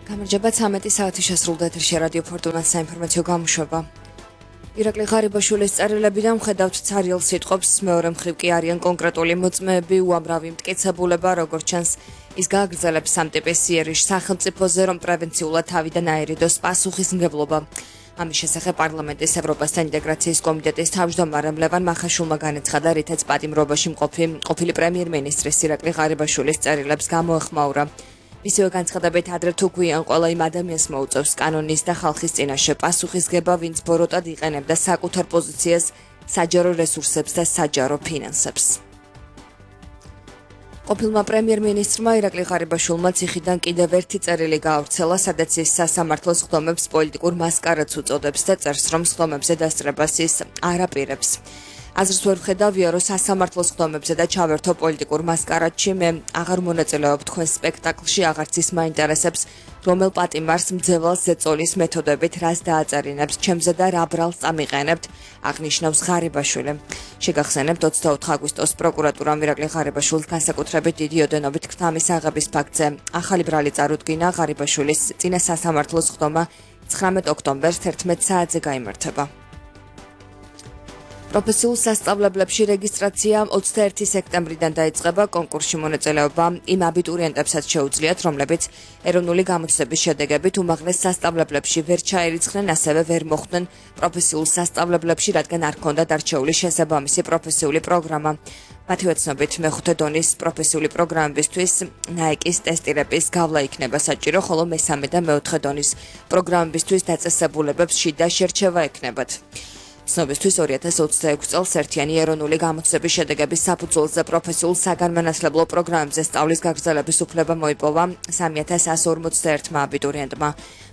გამარჯობა 13 საათი შესრულდა ეთერში რადიო ფორტუნას საინფორმაციო გამოშვება. ირაკლი ღარიბაშვილის წერილები და მხედავთ ცარიელ სიტყვებს მეორე მხრივ კი არიან კონკრეტული მოწმეები, უამრავი მტკიცებულება, როგორც ჩანს, ის გააგრძელებს სამ ტიპის იერიშ სახელმწიფოზე, რომ პრევენციულად თავიდან აერიდოს პასუხისმგებლობა. ამის შესახებ პარლამენტის ევროპასთან ინტეგრაციის კომიტეტის თავმჯდომარე ლევან მახაშვილმა განაცხადა, რითაც პატიმრობაში ყოფილი პრემიერ-მინისტრის ირაკლი ღარიბაშვილის წერილებს გამოეხმაურა. მისივე განცხადებით ადრე თუ გვიან ყველა იმ ადამიანს მოუწევს კანონის და ხალხის წინაშე პასუხისგება, ვინც ბოროტად იყენებდა საკუთარ პოზიციას, საჯარო რესურსებს და საჯარო ფინანსებს. ყოფილმა პრემიერ-მინისტრმა ირაკლი ღარიბაშვილმა ციხიდან კიდევ ერთი წერილი გაავრცელა, სადაც ის სასამართლოს ხდომებს პოლიტიკურ მასკარადს უწოდებს და წერს, რომ ხდომებზე დასწრებას ის არ აპირებს. აზრს ვერ ვხედავია, რომ სასამართლოს ხდომებზე და ჩავერთო პოლიტიკურ მასკარადში, მე აღარ მონაწილეობ თქვენ სპექტაკლში, აღარც ის მაინტერესებს, რომელ პატიმარს მძევალს ზეწოლის მეთოდებით რას დააწერინებს ჩემზე და რა ბრალს წამიყენებთ, აღნიშნავს ღარიბაშვილი. შეგახსენებთ 24 აგვისტოს პროკურატურამ ირაკლი ღარიბაშვილს განსაკუთრებით დიდი ოდენობით ქთამის აღების ფაქტზე ახალი ბრალი წარუდგინა. ღარიბაშვილის წინა სასამართლოს ხდომა 19 ოქტომბერს 11 საათზე გაიმართება. პროფესიულ სასწავლებლებში რეგისტრაცია 21 სექტემბრიდან დაიწყება. კონკურსში მონაწილეობა იმ აბიტურიენტებსაც შეუძლიათ, რომლებიც ეროვნული გამოცდების შედეგებით უმაღლეს სასწავლებლებში ვერ ჩაერიცხნენ, ასევე ვერ მოხვდნენ პროფესიულ სასწავლებლებში, რადგან არ ჰქონდათ არჩეული შესაბამისი პროფესიული პროგრამა. მათივე ცნობით მეხუთე დონის პროფესიული პროგრამებისთვის ნაიკის ტესტირების გავლა იქნება საჭირო, ხოლო მესამე და მეოთხე დონის პროგრამებისთვის დაწესებულებებს შიდა შერჩევა ექნებათ. ცნობისთვის 2026 წელს ერთიანი ეროვნული გამოცდების შედეგების საფუძველზე პროფესიულ საგანმანათლებლო პროგრამებზე სწავლის გაგრძელების უფლება მოიპოვა 3141 აბიტურიენტმა.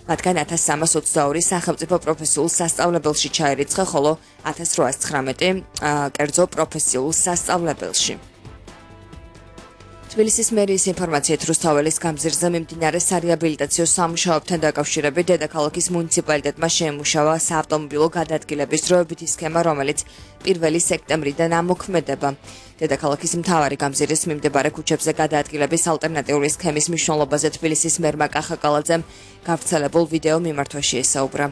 მათგან 1322 სახელმწიფო პროფესიულ სასწავლებელში ჩაერიცხა, ხოლო 1819 კერძო პროფესიულ სასწავლებელში. თბილისის მერიის ინფორმაციით რუსთაველის გამზირზე მიმდინარე სარეაბილიტაციო სამუშაოებთან დაკავშირებით დედაქალაქის მუნიციპალიტეტმა შეემუშავა საავტომობილო გადაადგილების დროებითი სქემა, რომელიც 1 სექტემბრიდან ამოქმედება. დედაქალაქის მთავარი გამზირის მიმდებარე ქუჩებზე გადაადგილების ალტერნატიული სქემის მნიშვნელობაზე თბილისის მერმა კახა კალაძემ გავრცელებულ ვიდეო მიმართვაში ესაუბრა.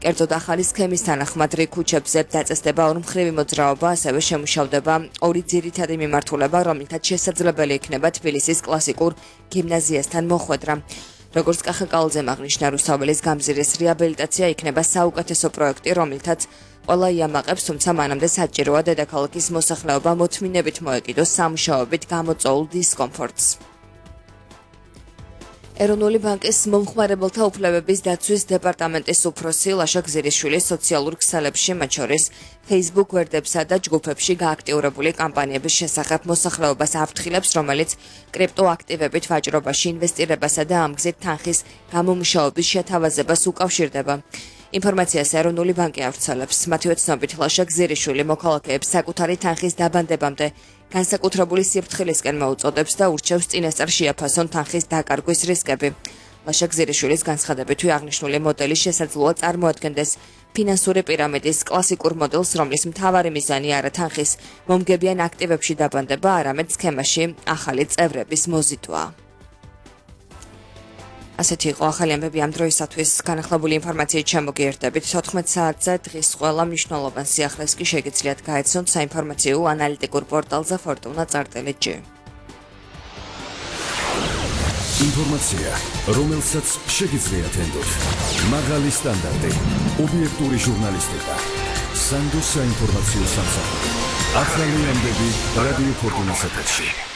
კერძოდ ახალი სქემის თანახმად რიგ ქუჩებზე დაწესდება ორმხრივი მოძრაობა, ასევე შემუშავდება ორი ძირითადი მიმართულება, რომლითაც შესაძლებელი იქნება თბილისის კლასიკურ გიმნაზიასთან მოხვედრა. როგორც კახა კალაძემ აღნიშნა, რუსთაველის გამზირის რეაბილიტაცია იქნება საუკეთესო პროექტი, რომლითაც ყველა იამაყებს, თუმცა მანამდე საჭიროა დედაქალაქის მოსახლეობა მოთმინებით მოეკიდოს სამუშაოებით გამოწვეულ დისკომფორტს. ეროვნული ბანკის მომხმარებელთა უფლებების დაცვის დეპარტამენტის უფროსი ლაშა გზირიშვილი სოციალურ ქსელებში, მათ შორის Facebook გვერდებსა და ჯგუფებში გააქტიურებული კამპანიების შესახებ მოსახლეობას აფრთხილებს, რომელიც კრიპტოაქტივებით ვაჭრობაში ინვესტირებასა და ამ გზით თანხის გამომუშავების შეთავაზებას უკავშირდება. ინფორმაციას ეროვნული ბანკი ავრცელებს. მათივე ცნობით ლაშა გზირიშვილი მოქალაქეებს საკუთარი თანხის დაბანდებამდე განსაკუთრებული სიფრთხილისკენ მოუწოდებს და ურჩევს წინასწარ შეაფასონ თანხის დაკარგვის რისკები. ლაშა გზირიშვილის განცხადებითი აღნიშნული მოდელი შესაძლოა წარმოადგენდეს ფინანსური პირამიდის კლასიკურ მოდელს, რომლის მთავარი მიზანი არა თანხის მომგებიან აქტივებში დაბანდება, არამედ სქემაში ახალი წევრების მოზიდვა. ასეთი იყო ახალი ამბები ამ დროისათვის. განახლებული ინფორმაციით შემოგიერთდებით 14 საათზე. დღის ყველა მნიშვნელოვან სიახლეს კი შეგიძლიათ გაეცნოთ საინფორმაციო ანალიტიკურ პორტალზე fortuna.gt. ინფორმაცია, რომელსაც შეგიძლიათ ენდოთ. მაღალი სტანდარტი, ობიექტური ჟურნალისტიკა, სანდო საინფორმაციო სამსახური. ახალი ამბები რადიო ფორტუნას ეთერში.